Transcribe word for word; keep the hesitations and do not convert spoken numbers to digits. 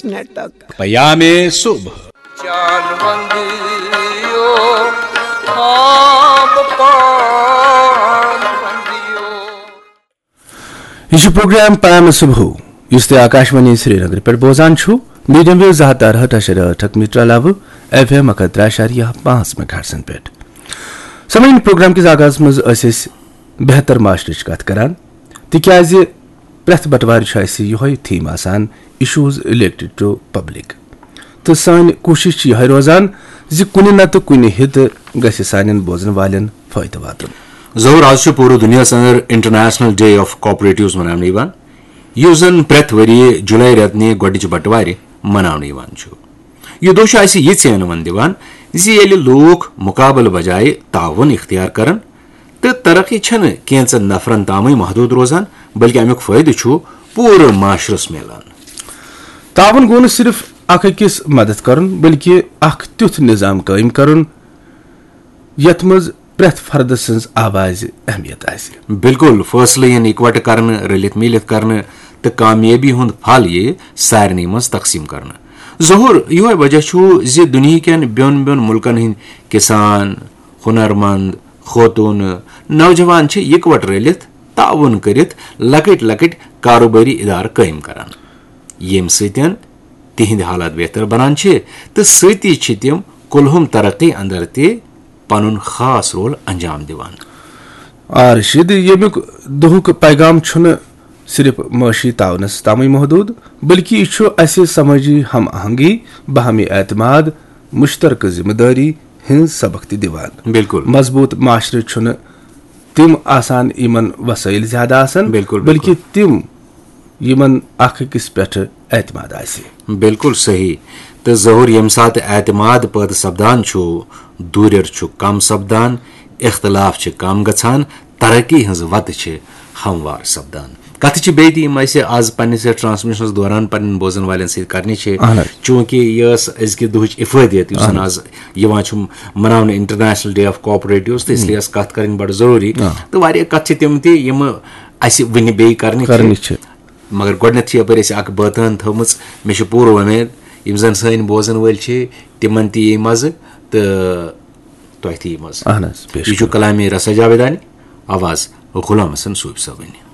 Minute تک۔ پیام صبح۔ یہ چھُ پروگرام پیام صبح، یُس تُہۍ آکاشوانی سرینگر پٮ۪ٹھ بوزان چھِو، میڈیم ویو زٕ ہتھ تہٕ ارہٲٹھ اَشاریہ ٲٹھ میٹر علاوٕ ایف ایم اکھ ہتھ ترٛےٚ اَشاریہ پانٛژھ میگاہرٹزن پٮ۪ٹھ۔ سامعین، پروگرام کِس آغازس منٛز ٲسۍ أسۍ بہتر معاشرٕچ کتھ کران، تِکیازِ پرٛٮ۪تھ بٹوارِ چھُ اَسہِ یِہوٚے تھیم آسان، issues related to public۔ تہٕ سٲنۍ کوٗشِش چھِ یِہوٚے روزان زِ کُنہِ نتہٕ کُنہِ حِتہٕ گژھِ سانٮ۪ن بوزن والٮ۪ن فٲیدٕ واتُن۔ ظہور، آز چھُ پوٗرٕ دُنیاہَس اندر انٹرنیشنل ڈے آف کوآپریٹوز مناونہٕ یِوان، یُس زن پرٛٮ۪تھ ؤریہِ جُلای رٮ۪تہٕ نہِ گۄڈٕنِچہِ بٹوارِ مناونہٕ یِوان چھُ۔ یہِ دۄہ چھُ اَسہِ یہِ ژینوُن دِوان زِ ییٚلہِ لوٗکھ مُقابلہٕ بجایہِ تعاوُن اختیار کرن، تہٕ ترقی چھنہٕ کینژن نفرن تامٕے محدود روزان، بلکہ امیُک فٲیدٕ چھُ پوٗرٕ معاشرس میلان۔ تعاون گوٚو نہٕ صرف اکھ أکِس مدد کرُن، بلکہ اکھ تیُتھ نظام قٲیِم کرُن یتھ منٛز پرٛٮ۪تھ فردٕ سٕنٛز آوازِ اہمیت آسہِ۔ بالکل، فٲصلہٕ یِن اِکوٹہٕ کرنہٕ، رٔلِتھ میٖلِتھ کرنہٕ، تہٕ کامیٲبی ہُنٛد پھل یِیہِ سارنٕے منٛز تقسیٖم کرنہٕ۔ ظہور، یِہوے وجہ چھُ زِ دُنیہکٮ۪ن بیوٚن بیوٚن مُلکن ہٕنٛدۍ کسان، ہُنرمند، خوتوٗنہٕ، نوجوان چھِ یِکوٹہٕ رٔلِتھ تعاوُن کٔرِتھ لۄکٕٹۍ لۄکٕٹۍ کاروبٲری ادارٕ قٲیِم کران، ییٚمہِ سۭتۍ تِہنٛدۍ حالات بہتر بنان چھِ تہٕ سۭتی چھِ تِم کُلہُم ترقی اندر تہِ پنُن خاص رول انجام دِوان۔ آ رشید، ییٚمیُک دُہُک پیغام چھُنہٕ صرف معاشی تعاونس تامٕے محدود، بلکہ یہِ چھُ اسہِ سمٲجی ہم آہنگی، باہمی اعتماد، مشترکہ ذمہ دٲری ہٕنٛز سبق تہِ دِوان۔ بالکل۔ مضبوط معاشرٕ چھُنہٕ تِم آسان یِمن وسٲیِل زیادٕ آسن، بالکل، بلکہ بالکل۔ تِم یِمن اکھ أکِس پٮ۪ٹھ اعتماد آسہِ۔ بالکل صحیح۔ تہٕ ظہور، ییٚمہِ ساتہٕ اعتماد پٲدٕ سپدان چھُ، دوٗریر چھُ کم سپدان، اختلاف چھِ کم گژھان، ترقی ہٕنٛز وتہٕ چھِ ہموار سپدان۔ کتھٕ چھِ بیٚیہِ تہِ یِم اَسہِ آز پننِس یتھ ٹرانسمیشنس دوران پننٮ۪ن بوزن والٮ۪ن سۭتۍ کرنہِ چھِ، اہن حظ۔ چوٗنکہِ یہِ ٲس أزکہِ دُہٕچ افٲدیت، یُس زن اہن حظ۔ آز یِوان چھُ مناونہٕ انٹرنیشنل ڈے آف کوآپریٹوز، تہٕ اس لیے ٲس کتھ کرٕنۍ بڑٕ ضروٗری۔ آ۔ تہٕ واریاہ کتھٕ چھِ تِم تہِ یِم اَسہِ وُنہِ بیٚیہِ کرنہِ چھِ۔ کرنہِ چھِ۔ مگر گۄڈٕنٮ۪تھ چھِ یپٲرۍ اَسہِ اکھ بٲتٲن تھٲومٕژ، مےٚ چھِ پوٗرٕ وۄمید یِم زن سٲنۍ بوزن وٲلۍ چھِ تِمن تہِ یی مزٕ تہٕ تۄہہِ تہِ یی مزٕ۔ اہن حظ، بے شک۔ یہِ چھُ کلامِ رسا جاویدانہِ، آواز غلام حسن صوٗفی صٲبٕنۍ۔